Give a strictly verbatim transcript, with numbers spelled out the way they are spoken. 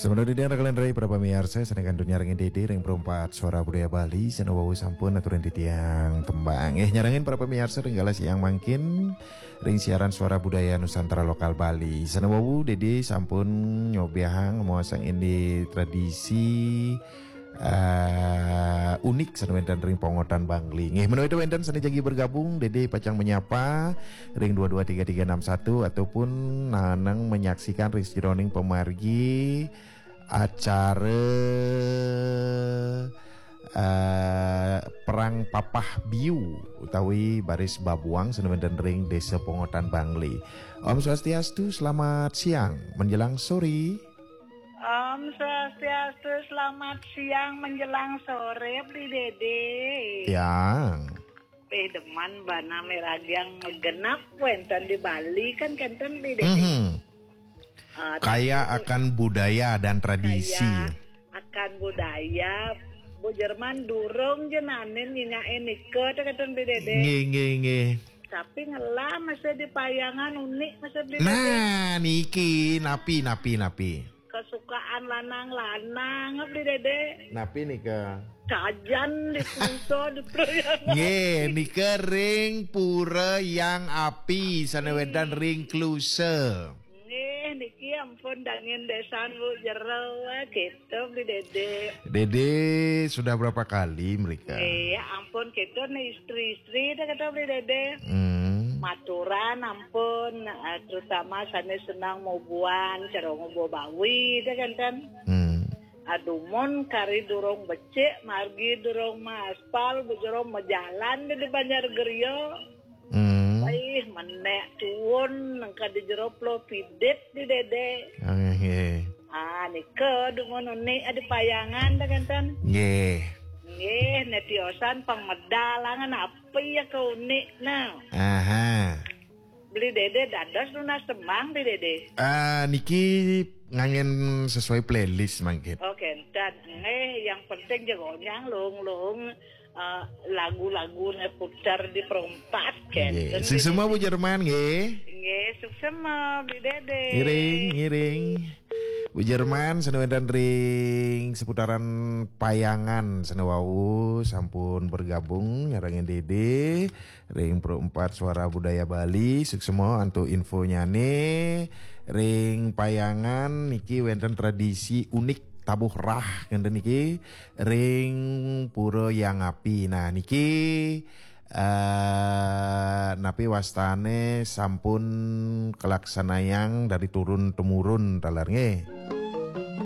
Sebenarnya dia kalian rai para pamiarsa, sané kantun nyarengin Dédé ring Perempat Suara Budaya Bali, sané wau sampun aturin titiang tembang. Eh, nyarengin para pamiarsa ring galah siang mangkin ring siaran Suara Budaya Nusantara Lokal Bali. Sané wau Dédé sampun nyobiahang maosang indik tradisi eh, unik sané wénten ring pongotan Bangli. Nggih, menawi wénten sané jagi bergabung, Dédé pacang menyapa ring dua dua tiga tiga enam satu ataupun nanang menyaksikan ring sajeroning pamargi acara eh, Perang Papah Biu utawi Baris Babuang sané wénten ring Désa Pongotan Bangli. Om Swastiastu, selamat siang menjelang sore. Om Swastiastu, selamat siang menjelang sore, Bli Dédé. Yang Eh, demen bana meragiang genap wénten di Bali kan kénten, Bli Dédé. Mhm. Ah, Kaya tapi akan budaya dan tradisi. Kaya akan budaya, Bu Jerman durung jenanin nyinyakin nika, kénten, Bli Dédé. Nggih, nggih, nggih. Tapi ngelah masih di payangan unik masih, Bli Dédé. Nah, niki napi, napi, napi. Kesukaan lanang-lanang, Bli Dédé. Napi nika? Kajan di Klusa di Priangan. Nggih, nika ring Pura Yang Api, sané wénten ring Klusa. Nggih, niki ampun dangin désan Bu Jero, gitu, Bli Dédé. Dédé sudah berapa kali mereka? Iya, ampun, gitu nih istri-istri dah, kata Bli Dédé. Hmm. Maturan ampun, eh, terutama sané senang mubuan, cara ngubuh bawi, dah kan, kan. Hmm. Adumun kari durung becik, margi durung maaspal, Bu Jero majalan di Banjar Geria. Hmm. Ih, menék tuun nengka di jero Pulo Pidit, Bli Dédé. Ah, nggih. Ah, nika dumun unik di payangan dah, kénten. Nggih. Nggih, né tiosan pang medal angan apa ya ke unik, nah. Aha. Bli Dédé dados nunas tembang, Bli Dédé. Ah, niki nganggén sesuai playlist mangkin. Oh, kénten. Nggih, yang penting jegonyang lung-lung, eh, lagu-laguné putar di Perempat, nggih, kénten, Bli Dédé. Suksma, Bu Jerman, nggih. Nggih, suksma, Bli Dédé. Ngiring, ngiring. Bu Jerman, sané wénten ring seputaran Payangan, sané wau sampun bergabung nyarengin Dédé ring Perempat Suara Budaya Bali, suksma antuk infonyané. Ring Payangan niki wénten tradisi unik tabuh rah, kénten niki, ring Pura Yang Api. Nah, niki, eh, napi wastané sampun kalaksanayang dari turun temurun taler, nggih.